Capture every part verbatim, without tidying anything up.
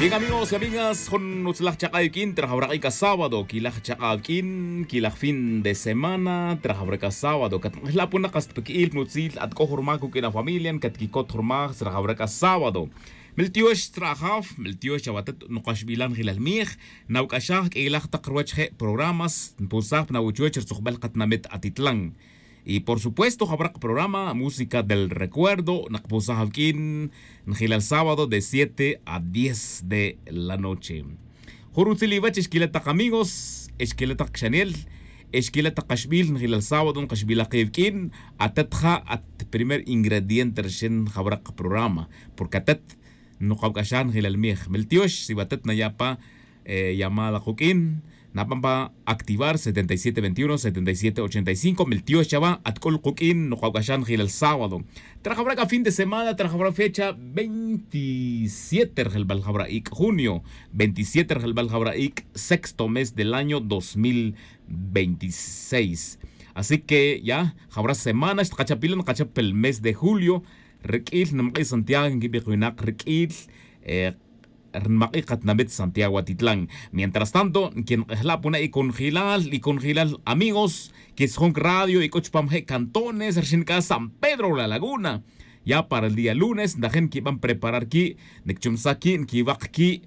Bien, amigos y amigas, jun utzlaj chak'a' awik'in trajawra k'a sábado, quilaj chak'a' awik'in, quilaj fin de semana trajawra k'a sábado. Catnk'ejla' puna qas pa qui'il nutzil at c'o jurmaj cuq'uin afamilia catquicot jurmaj trajawra k'a sábado. Meltiox tzra' ajaf, meltiox chawatet nukaxbilal njilal mij. Nawc'axaj q'uilaj tak ruwech je' programas npusaj pa nawuchuwech rtzujbel katinamit atitlan. Y por supuesto jawra kaprograma música del recuerdo nakpusaj awik'in njilal sábado de siete a diez de la noche. Jun rutzil iwech exquila' tak amigos, exquila' tak xanel, exquila' tak kaxbil njilal sábado nkaxbilaj ke awik'in. Atet ja at primer ingrediente rixin jawra kaprograma, porque atet nukawc'axaj njilal mij. Meltiox si watet naya' pa llamada kuq'uin, naban pa activar setenta y siete veintiuno setenta y siete ochenta y cinco. Meltiox chawa at c'ul kuq'uin nukawc'axaj njilal sábado. Trajawra k'a fin de semana trajawra fecha veintisiete rjelbal jawra ic' junio, veintisiete rjelbal jawra ic' sexto mes del año dos mil veintiséis. Así que ya jawra semana xtkachapilan nkachap el mes de julio. Riq'uil nimak'i' santiago nquibij winak riq'uil nimak'i' katinamit santiago atitlan. Mientras tanto nquenk'ejla' puna' iconjilal iconjilal amigos, quitzjon cradio y c'o chupam je' cantones rixin c'a san pedro la laguna. Ya para el día lunes ntajin nquiban preparar qui' nquichumsaj qui' nquiwak qui'.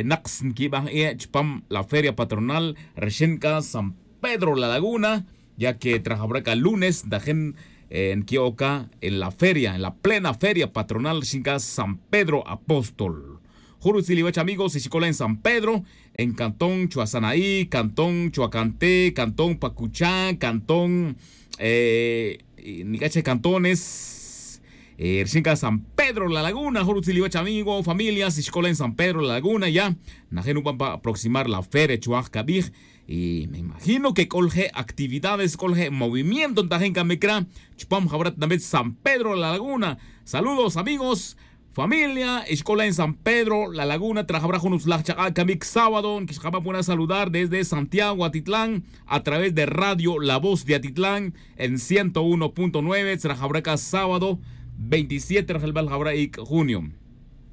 Naks nquiban je' chupam la feria patronal rixin c'a san pedro la laguna, ya que trajawra c'a lunes ntajin nqui'oc c'a en la feria en la plena feria patronal rixin c'a san pedro apóstol. Jun rutzil iwech amigos y xic'ola' en san pedro, en cantón chuasanaí cantón chuacanté cantón pacuchá cantón nic'a che cantones. Rixin c'a san pedro la laguna jun rutzil iwech amigo familia si xic'ola' en san pedro la laguna ya najin nuban pa aproximar la feria chuaj cabij. Y me imagino que c'o lje' actividades c'o lje' movimiento ntajin camic ra chupam jawra tinamit san pedro la laguna. Saludos amigos, familia y xc'ola' en san pedro la laguna trajawra jun utzlaj chak'a' camic sábado nquixkaban puna' saludar desde santiago atitlan a través de radio la voz de atitlan en ciento uno punto nueve trajawra c'a sábado veintisiete rjelbal jawra ic' junio.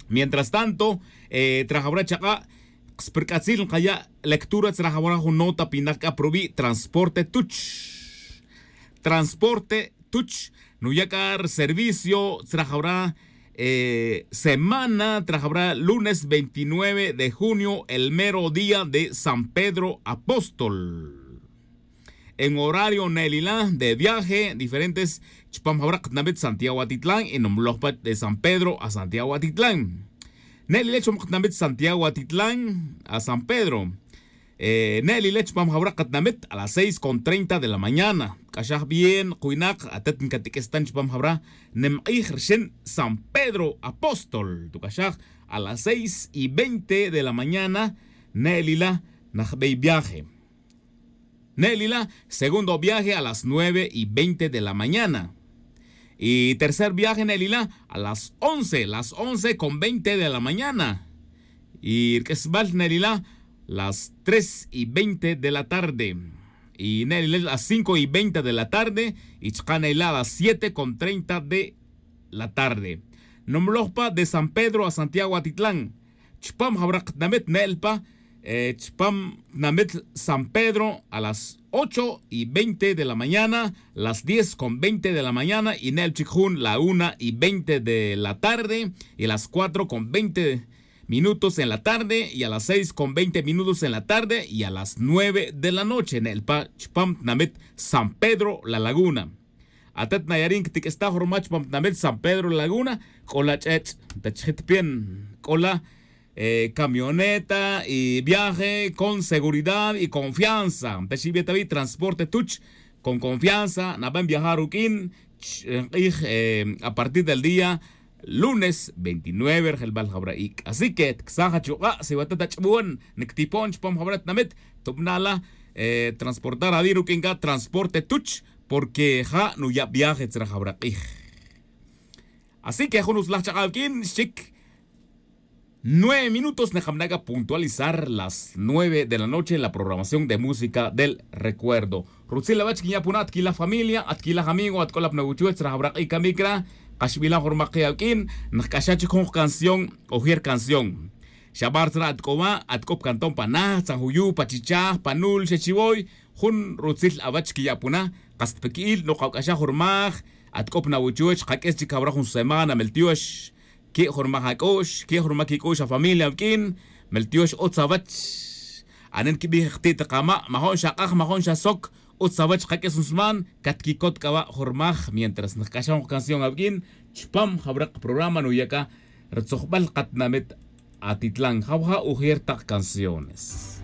Mientras tanto trajawra chak'a' kspirc'atzil nkaya' lectura tzra jawra jun nota pinak c'a pa rubi' transporte tuch. Transporte tuch nuya' c'a rservicio tzra jawra semana tzra jawra lunes veintinueve de junio el mero día de san pedro apóstol. En horario ne'elila de viaje diferentes chupam jawra katinamit santiago atitlan y numloj pach de san pedro a santiago atitlan. Ne'elila chupam katinamit santiago atitlan a san pedro. Ne'elila chupam jawra katinamit a las seis con treinta de la mañana. K'axaj bien kuwinak atet nkatiq'uis tan chupam jawra nimk'ij rixin san pedro apóstol tuk'axaj a las seis y veinte de la mañana. Ne'elila najbey viaje. Ne'elila segundo viaje a las nueve y veinte de la mañana. Y tercer viaje ne'elila a las once las once con veinte de la mañana. Y rk'isbal ne'elila las tres y veinte de la tarde. Y ne'elila las cinco y veinte de la tarde. Y chaka' ne'elila las siete con treinta de la tarde. Numloj pa de san pedro a santiago atitlan. Chupam jawra katinamit ne'el pa chupam tinamit san pedro a las ocho y veinte de la mañana, las diez con veinte de la mañana y ne'el chic jun la una y veinte de la tarde y las cuatro con veinte minutos en la tarde y a las seis con veinte minutos en la tarde y a las nueve de la noche ne'el pa chupam tinamit san pedro la laguna. Atet nayarin ctiq'uis ta jun ruma chupam tinamit san pedro la laguna c'o la ch'ech' ta chijit pin c'o la camioneta y viaje con seguridad y confianza ta xibetawi transporte tuch. Con confianza naban viajar ruq'uin nk'ij a partir del día lunes veintinueve rjelbal jawra ic'. Así que tksaj achuk'a' si watet ach'bon nctipon chupam jawra tinamit tubna' la transportar awi' ruq'uin c'a transporte tuch. Porque ja' nuya' viaje tzra jawra k'ij. Así que jun utzlaj chak'a' awik'in xchic nueve minutos nkamana' c'a puntualizar las nueve de la noche en la programación de música del recuerdo. Rutzil awech quinya' puna' atquilaj familia atquilaj amigo atk'olap nawuchuwech tzra jawra k'ij camic ra. Kaxbilan jun rumak ki' awik'in nkc'axaj chic jun canción ojer canción. Chabar tzara' at c'o wa' at c'o pa cantón pa najtzan juyu pa chichaj pa nul xa chiwoy. Jun rutzil awach quiya' puna. Kas ta pa qui'il nokawac'axaj jurmaj. At c'o pa nawochoch kaq'ues chic jawra jun semana meltiox. Que' jurmaj ac'o'x que' jurmaj quic'o'x afamilia awq'uin. Meltiox utz awach. Anen quibij jti' tak ama' majo'n xa k'aj majo'n xa sok. Utz awach kaq'ues jun sman. Catquicot c'a wa' jurmaj mientras nac'axaj jun kacanción awq'uin. Chupam jawra kaprograma nuya' c'a rutzujbal katinamit. Atitlan jawja' ujer tak canciones.